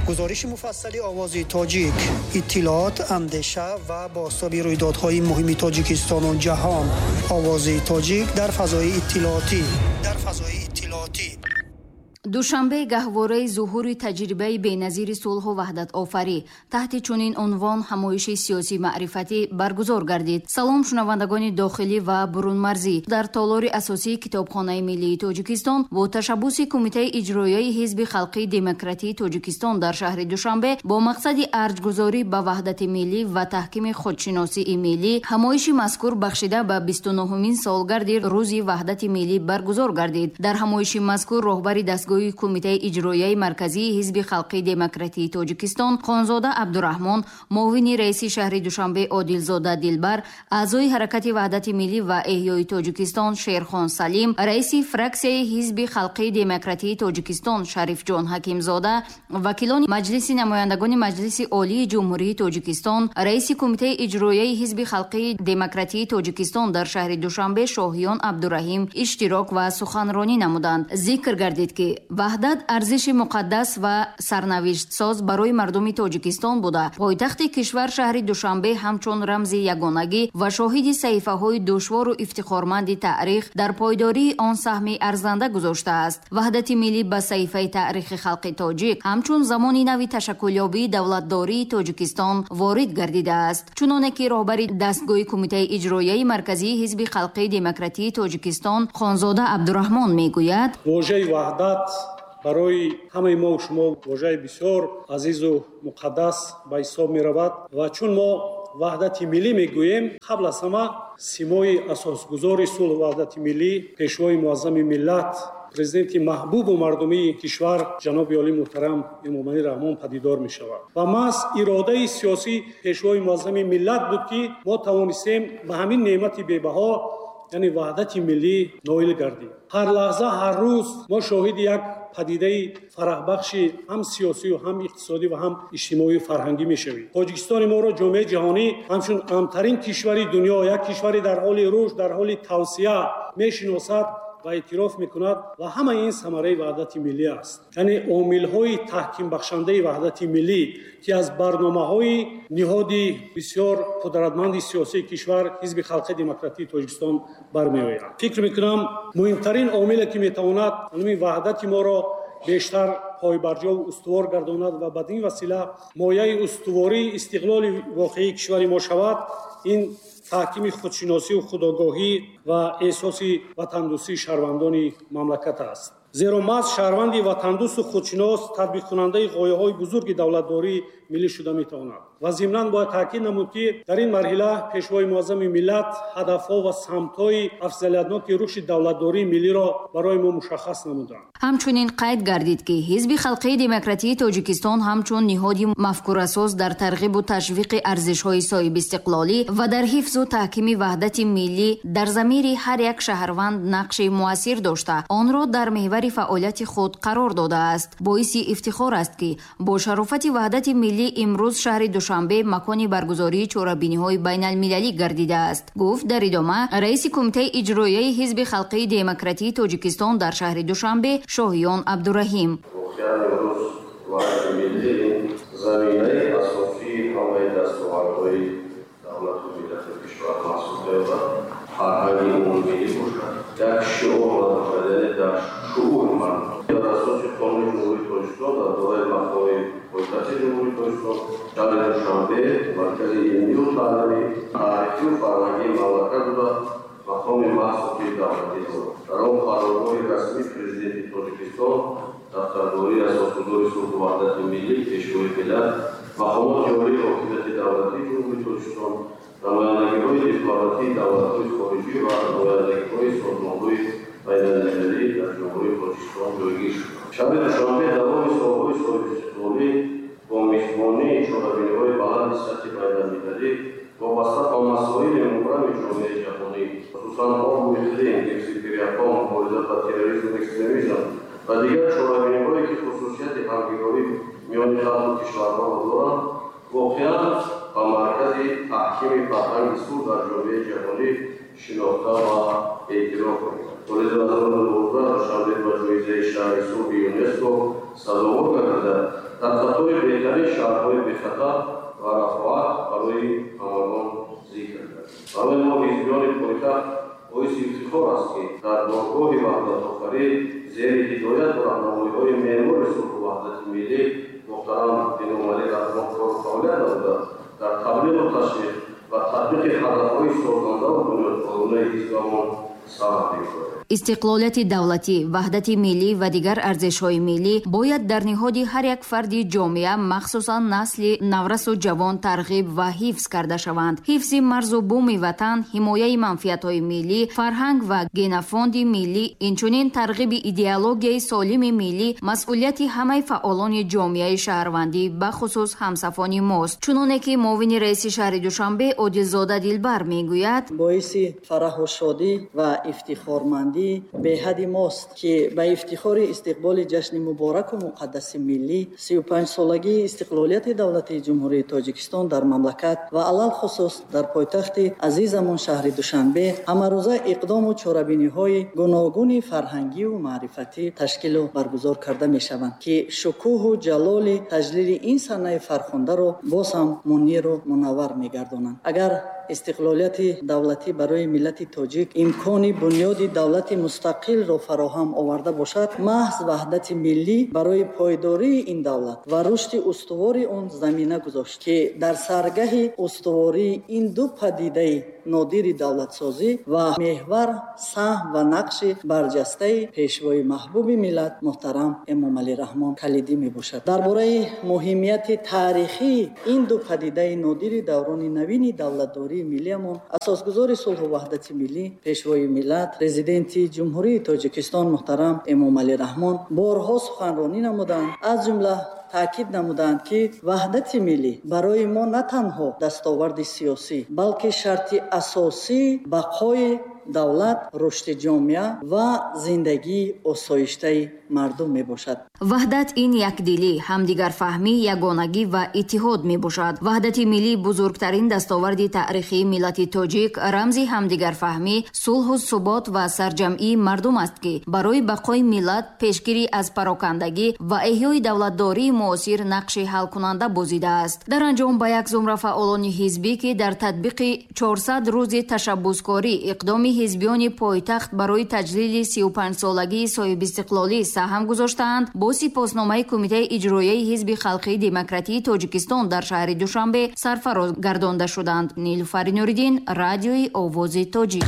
Гузориши муфассали Овози Тоҷик, иттилоот, андеша ва бозтоби рӯйдодҳои муҳими Тоҷикистону ҷаҳон. Овози Тоҷик дар фазои иттилоотӣ. Дар фазои иттилоотӣ. Душанбе гаҳвораи зуҳури таҷрибаи беназири сулҳу ваҳдатофарӣ. Таҳти чунин унвон ҳамоиши сиёсӣ маърифатӣ баргузор гардид. Салом, шунавандагони дохилӣ ва бурунмарзӣ. Дар толори асосии Китобхонаи миллии Тоҷикистон бо ташаббуси Кумитаи иҷроияи Ҳизби халқии демократии Тоҷикистон дар шаҳри Душанбе бо мақсади арҷгузорӣ ба ваҳдати миллӣ ва таҳкими худшиносии миллӣ ҳамоиши мазкур бахшида ба 29-умин солгарди Рӯзи ваҳдати миллӣ баргузор гардид. Дар ҳамоиши мазкур роҳбари дастгоҳи Кумитаи иҷроияи марказии Ҳизби халқии демократии Тоҷикистон Хонзода Абдураҳмон, муовини раиси шаҳри Душанбе Одилзода Дилбар, аъзои Ҳаракати ваҳдати миллӣ ва эҳёи Тоҷикистон Шерхон Салим, раиси фраксияи Ҳизби халқии демократии Тоҷикистон Шарифҷон Ҳакимзода, вакилони Маҷлиси намояндагони Маҷлиси Олии Ҷумҳурии Тоҷикистон, раиси Кумитаи иҷроияи Ҳизби халқии демократии Тоҷикистон дар шаҳри Душанбе Шоҳиён Абдураҳим иштирок ва суханронӣ намуданд. Зикр гардид, ки ваҳдат арзиши муқаддас ва сарнавиштсоз барои мардуми Тоҷикистон буда, пойтахти кишвар шаҳри Душанбе ҳамчун рамзи ягонагӣ ва шоҳиди саҳифаҳои душвору ифтихорманди таърих дар пойдории он саҳми арзанда гузоштааст. Ваҳдати миллӣ ба саҳифаи таърихи халқи тоҷик ҳамчун замони нави ташаккулёбии давлатдории Тоҷикистон ворид гардидааст. Чуноне ки роҳбари дастгоҳи Кумитаи иҷроияи марказии Ҳизби халқии демократии Тоҷикистон Хонзода Абдураҳмон мегӯяд: вожаи ваҳдат барои ҳамаи мо шумо вожаи бисёр азизу муқаддас ба ҳисоб меравад ва чун мо ваҳдати миллӣ мегӯем, қабл аз ҳама симои асосгузори сулҳу ваҳдати миллӣ, пешвои муаззами миллат, президенти маҳбубу мардумии кишвар ҷаноби олӣ муҳтарам Эмомалӣ Раҳмон падидор мешавад. Ва маҳз иродаи сиёсии пешвои муаззами миллат буд, ки мо тавонистем ба ҳамин неъмати бебаҳо, яъне ваҳдати миллӣ, ноил гардем. Ҳар лаҳза, ҳар рӯз мо шоҳиди як падидаи фараҳбахши ҳам сиёсию ҳам иқтисодӣ ва ҳам иҷтимоию фарҳангӣ мешавем. Тоҷикистони моро ҷомеаи ҷаҳонӣ ҳамчун амтарин кишвари дунё, як кишвари дар ҳоли рушд, дар ҳоли тавсия мешиносад ва эътироф мекунад ва ҳамаи ин самараи ваҳдати миллӣ аст. Яъне омилҳои таҳкимбахшандаи ваҳдати миллӣ, ки аз барномаҳои ниҳоди бисёр қудратманди сиёсии кишвар Ҳизби халқии демократии Тоҷикистон бармеояд. Фикр мекунам, муҳимтарин омиле, ки метавонад ҳамин ваҳдати моро бештар пойбарҷову устувор гардонад ва бад ин васила мояи устувории истиқлоли воқеии кишвари мо шавад, ин таҳкими худшиносию худогоҳӣ ва эҳсоси ватандӯстии шаҳрвандони мамлакат аст. Зеро маҳз шаҳрванди ватандӯсту худшинос татбиқкунандаи ғояҳои бузурги давлатдории миллӣ шуда метавонад. Ва зимнан бояд таъкид намуд, ки дар ин марҳила пешвои муаззами миллат ҳадафҳо ва самтҳои афзалиятноки рушди давлатдории миллиро барои мо мушаххас намуданд. Ҳамчунин қайд гардид, ки Ҳизби халқии демократии Тоҷикистон ҳамчун ниҳоди мафкурасоз дар тарғибу ташвиқи арзишҳои соҳибистиқлолӣ ва дар ҳифзу таҳкими ваҳдати миллӣ дар замири ҳар як шаҳрванд нақши муассир дошта, онро дар меҳвари фаъолияти худ қарор додааст. Боиси ифтихор аст, ки бо шарофати ваҳдати миллӣ имрӯз шаҳри Душанбе макони баргузории чорабиниҳои байналмилалӣ гардидааст, гуфт дар идома раиси Кумитаи иҷроияи Ҳизби халқии демократии Тоҷикистон дар шаҳри Душанбе Шоҳиён Абдураҳим. Воқеан имрӯз ваҳдати миллӣ заминаи асосии ҳамаи дастовардҳои давлату миллату кишвар маҳсуб меёбад. Фарҳанги умумимиллӣ бошад, як шиор бошад, яъне дар шуури мардум. Дар асоси Қонуни Ҷумҳурии Тоҷикистон дар бораи мақоми пойтахти Ҷумҳурии Тоҷикистон, шаҳри Душанбе маркази илмию таълимӣ, таърихию фарҳангии мамлакат буда, мақоми махсуси давлатӣ дорад. Дар он қарорҳои расмии Президенти Тоҷикистон, дафтардории асосгузори сулҳу ваҳдати миллӣ, пешвои миллат, мақомоти олии ҳокимияти давлатии Ҷумҳурии Тоҷикистон, намояндагиҳои дипломатии давлатҳои хориҷӣ ва намояндагиҳои созмонҳои байналмилалӣ дар Ҷумҳурии Тоҷикистон ҷойгир шуд. Шаҳри Душанбе давоми солҳои соҳибистиқлолӣ бо мизбонии чорабиниҳои баланди сатҳи байналмилалӣ вобаста ба масоили мубрами ҷомеаи ҷаҳонӣ, хусусан обу иқлим, ҳифзи пиряхҳо, мубориза ба терроризму экстремизм ва дигар чорабиниҳое, ки хусусияти ҳамгироӣ миёни халқу кишварҳоро доранд, воқеан ба маркази таҳкими фарҳанги сулҳ дар ҷомеаи ҷаҳонӣ шинохта ва эътироф мекунад. Соли 2012 Душанбе ба ҷоизаи шаҳри сулҳи ЮНЕСКО сазовор гардида, дар қатори худамон саҳм мегузорем. Истиқлолияти давлатӣ, ваҳдати миллӣ ва дигар арзишҳои миллӣ бояд дар ниҳоди ҳар як фарди ҷомеа, махсусан насли наврасу ҷавон, тарғиб ва ҳифз карда шаванд. Ҳифзи марзу буми ватан, ҳимояи манфиатҳои миллӣ, фарҳанг ва генофонди миллӣ, инчунин тарғиби идеологияи солими миллӣ масъулияти ҳамаи фаъолони ҷомеаи шаҳрвандӣ, бахусус ҳамсафони мост. Чуноне ки муовини раиси шаҳри Душанбе Одилзода Дилбар мегӯяд: боиси фараҳу шодӣ ва ифтихормандӣ беҳади мост, ки ба ифтихори истиқболи ҷашни мубораку муқаддаси миллӣ, 35-солагии истиқлолияти давлатии Ҷумҳурии Тоҷикистон дар мамлакат ва алалхусус дар пойтахти азизамон шаҳри Душанбе ҳамарӯза иқдому чорабиниҳои гуногуни фарҳангию маърифатӣ ташкилу баргузор карда мешаванд, ки шукӯҳу ҷалоли таҷлили ин санаи фархундаро боз ҳам муниру мунаввар мегардонанд. Агар истиқлолияти давлатӣ барои миллати тоҷик имкони бунёди давлати мустақилро фароҳам оварда бошад, маҳз ваҳдати миллӣ барои пойдории ин давлат ва рушди устувори он замина гузошт, ки дар саргаҳи устувории ин ду падидаи нодири давлатсозӣ ва меҳвар саҳм ва нақши барҷастаи пешвои маҳбуби миллат муҳтарам Эмомалӣ Раҳмон калидӣ мебошад. Дар бораи муҳимияти таърихии ин ду падидаи нодири даврони навини давлатдории миллиамон асосгузори сулҳу ваҳдати миллӣ, пешвои миллат, Президенти Ҷумҳурии Тоҷикистон муҳтарам Эмомалӣ Раҳмон борҳо суханронӣ намуданд. Аз ҷумла таъкид намуданд, ки ваҳдати миллӣ барои мо на танҳо дастоварди сиёсӣ, балки шарти асосии бақои давлат, рушди ҷомеа ва зиндагии осоиштаи мардум мебошад. Ваҳдат ин якдилӣ, ҳамдигарфаҳмӣ, ягонагӣ ва иттиҳод мебошад. Ваҳдати миллӣ бузургтарин дастоварди таърихии миллати тоҷик, рамзи ҳамдигарфаҳмӣ, сулҳу субот ва сарҷамъии мардум аст, ки барои бақои миллат, пешгирӣ аз парокандагӣ ва эҳёи давлатдории муосир нақши ҳалкунанда бозидааст. Дар анҷом ба як зумра фаъолони ҳизбӣ, ки дар татбиқи 400 рӯзи ташаббускорӣ иқдоми ҳизбиёни пойтахт барои таҷлили 35-солагии соҳибистиқлолӣ саҳм гузоштаанд, бо сипосномаи Кумитаи иҷроияи Ҳизби халқии демократии Тоҷикистон дар шаҳри Душанбе сарфароз гардонда шуданд. Нилуфари Нуриддин, Радиои Овози Тоҷик.